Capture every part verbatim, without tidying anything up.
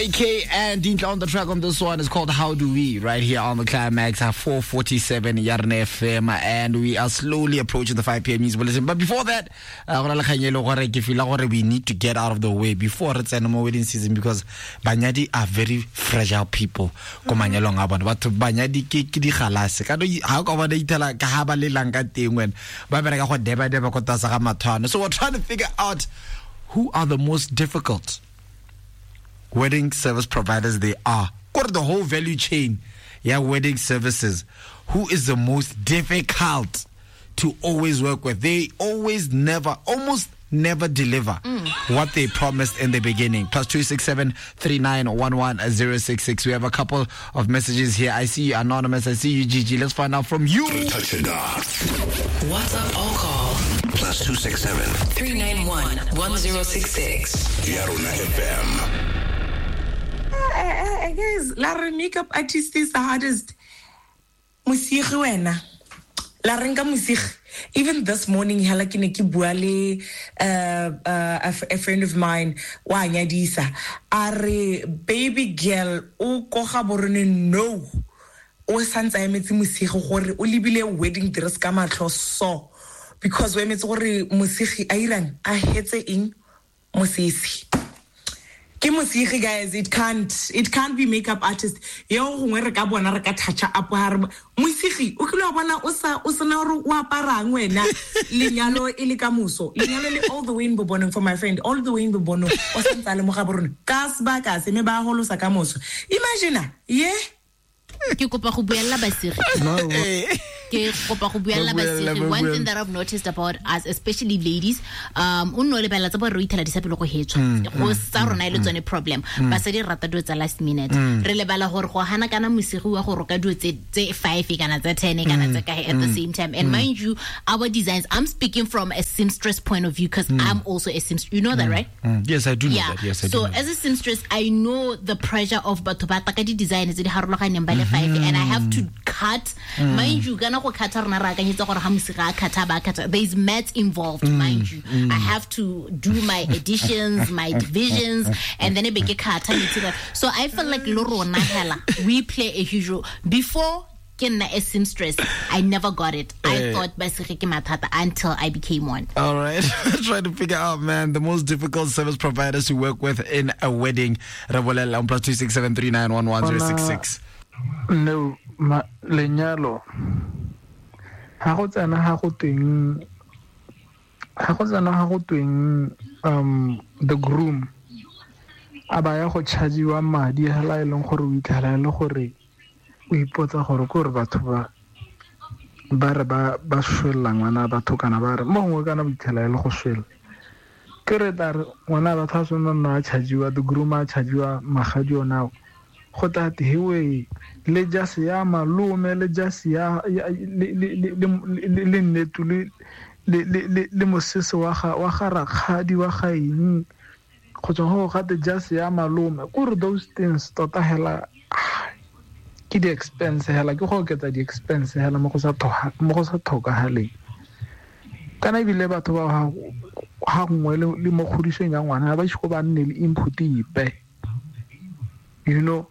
K and Dintle on the track on this one is called How Do We, right here on the Climax at four forty-seven Yarona F M, and we are slowly approaching the five p.m. news bulletin. But before that, uh, we need to get out of the way before it's any more wedding season, because banyadi are very fragile people. Ko manyalong a bona batho banyadi ke ke digalase ka ha ka bona ithela ka ha ba lelang ka teng wena ba bereka go deba deba go tasa ga mathwana. So we're trying to figure out who are the most difficult wedding service providers they are. Go to the whole value chain, yeah, wedding services. Who is the most difficult to always work with? They always never, almost never deliver mm. what they promised in the beginning. Plus two six seven three nine one one zero six six. We have a couple of messages here. I see you, Anonymous. I see you, Gigi. Let's find out from you. Touch it off. WhatsApp or call. Plus two six seven three nine one one zero six six. Yarona F M. Uh, guys, la re makeup artist is the hardest. Mosigi wena. La re nka mosigi. Even this morning, hela ke ne ke bua le uh, uh, a, a friend of mine wa nyadisa. A re baby girl o ko ga borone no. O santse a emetse mosigi gore o lebile wedding dress ka matlho so, because o emetse gore mosigi a irang a hetse eng mosese. Ke mosigi, guys, it can't it can't be makeup artist. Yo gongwe re ka bona re ka touch up ha re mosigi o kile wa bona o sa o sena gore o aparang wena lenyalo e le ka moso. Lenyalo le all the way in Bobonong for my friend, all the way in Bobonong o santse a le mo ga borone ka sebaka se me ba holosa ka moso. Imagine, yeah. Ke kopa go buella basigi. Ke kopa go buella basigi. One thing that I've noticed about us, especially ladies, um o nno lebella tsa bo re ithela disapelo go hetswa. Go sa rona ile tsone problem. Basadi rata dilo tsa last minute. Re lebala gore go hana kana mosigi wa go roka dilo tse tse five kana tse ten kana tse kae at the same time. And mind you, our designs, I'm speaking from a seamstress point of view because I'm also a seamstress. You know that, right? Mm. Yes, I do know yeah. that. Yes, I do. So know as a seamstress, I know the pressure of batho ba taka di design tse di harologaneng ba le five, and I have to cut. Mm. Mind you, kana go cut rona ra akanyetsa gore ha mosiga a cut ba cut. There is maths involved, mm. mind you. Mm. I have to do my additions, my divisions, and then e be ke cut. So I feel like lo rona hela we play a huge role. Before ke nna a seamstress, I never got it. I thought basigi ke mathata until I became one. All right. Trying to figure out, man, the most difficult service providers to work with in a wedding. Re bolela on plus two six seven three nine one one zero six six. No, ma lenyalo ha go tsena ha go teng ha go tsena ha go teng um the groom a ba ya go chargiwa madi hela e leng gore o itlhela le gore o ipotsa gore ke gore batho ba ba re ba ba swella ngwana batho kana ba re mo gongwe kana o itlhela e le go swella ke re tare ngwana batho a swana nna a chargiwa the groom a chargiwa magadi ona go tate hewe le jase ya malome le jase ya le le le le nnetu le le le le mosese wa ga wa ga rakgadi wa ga eng go tswa go gate jase ya malome gore those things tota hela ke di expense hela ke go oketsa di expense hela mo go sa thoha mo go sa thokagaleng kana ebile batho ba ga ga nngwe le mo kgodisong ya ngwana ba itse go ba nne le input ipe, you know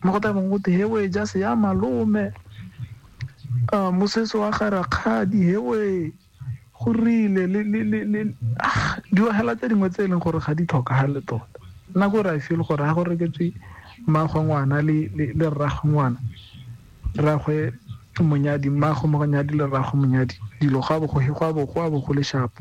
mo go tabeng go te hewe jase ya malome a mosese wa ga rakgadi hewe go rile le le le ah di hela tse dingwe tse e leng gore ga di tlhokagale tota nna go ra feel gore ha go reketswe mmagwe ngwana le le rragwe ngwana rragwe monyadi mmagwe monyadi le rragwe monyadi dilo ga bo go go bo go bo go le sharp.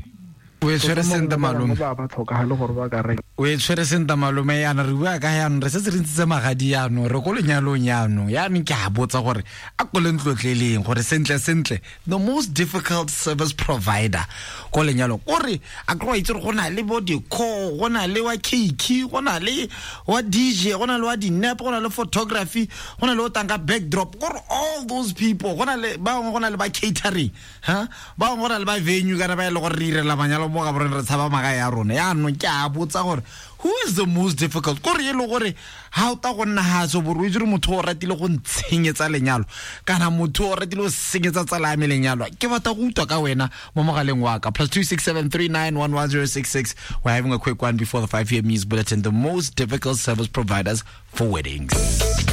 O e tshwere senta malome ba ba tlhokagale gore ba ka reka. O e tshwere senta malome yana re bua ka yanong re setse re ntshitse magadi yanong re ko lenyalong yanong yanong ke a botsa gore a ko le ntlotleleng gore sentle sentle the most difficult service provider ko lenyalong kore a kry itse gore go na le bo decor, go na le wa cake, go na le wa D J, go na le wa dinep, go na le photography, go na le o tanga backdrop, gore all those people go na le ba bangwe go na le ba catering, ha ba bangwe go na le ba venue kana ba e le gore re irela manyalo mo Gaborone re tshaba magae a rona. Yaanong ke a botsa gore who is the most difficult? Kore e le gore ha o ta go nna ha so bore o itse gore motho o ratile go ntshenyetsa lenyalo kana motho o ratile go senyetsa tsala ya me lenyalo. Ke batla go utlwa ka wena mo mogaleng wa ka plus two six seven three nine one one zero six six. We're having a quick one before the five P M news bulletin. The most difficult service providers for weddings.